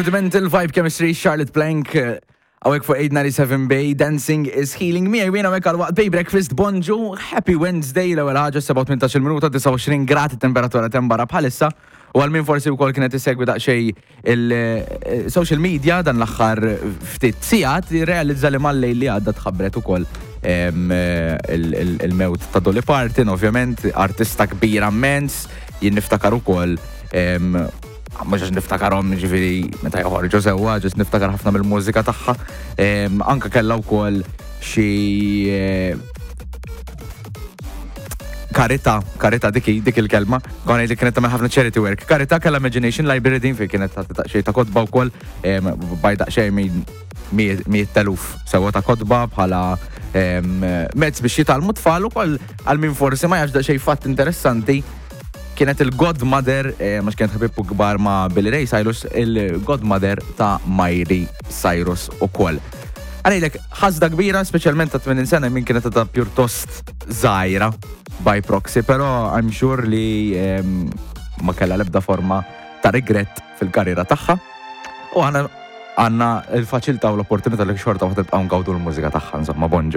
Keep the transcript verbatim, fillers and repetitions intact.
Rudimental Vibe Chemistry, Charlotte Plank, hawnhekk fuq eight ninety-seven Bay, Dancing is Healing Me, għajwina għek għal-waqt Bay Breakfast, bonġu, Happy Wednesday, l-ewwel ħaġa sebgħa u tmintax-il minuta, disgħa u għoxrin grad temperatura tembara bħalissa, u għal min forsi wkoll kienet isegwi daqsxejn il-social media dan l-aħħar ftit sigħat, realizza li mal-lejl li għadda tħabbret ukoll em, il- il- il-mewt ta' Dolly Parton, ovvjament, artista kbira immens, jien niftakar ukoll em, mhux għax niftakarhom ġifieri meta joħorġu sewwa, ġust niftakar ħafna mill-mużika tagħha. Em, Anka kellha wkoll xi eh, karita, karita dik dik il-kelma, konna li kienet tagħmel ħafna charity work. Karita kellha Imagination Library din fejn kienet tagħti daqsxejn ta' kotba wkoll em, baj daqsxejn minn mijiet teluf sewwa ta' kotba bħala em, mezz biex jitgħallmu tfal ukoll. Għal min forsi ma jafx, daqsxejn fatt interessanti, kienet il-godmother, eh, ma kienet ħabib kbar ma' Billy Ray Cyrus, il-godmother ta' Miley Cyrus ukoll. Għalejlek, ħasda kbira, specialment ta' tmenin sena, min kienet ta' pjuttost żgħira by proxy, pero I'm sure li em, ma kella lebda forma ta' regret fil-karriera tagħha. U għandna għandna il-faċilità u l-opportunità li xorta waħda tibqgħu ngawdu l-mużika tagħha, insomma, bonġu.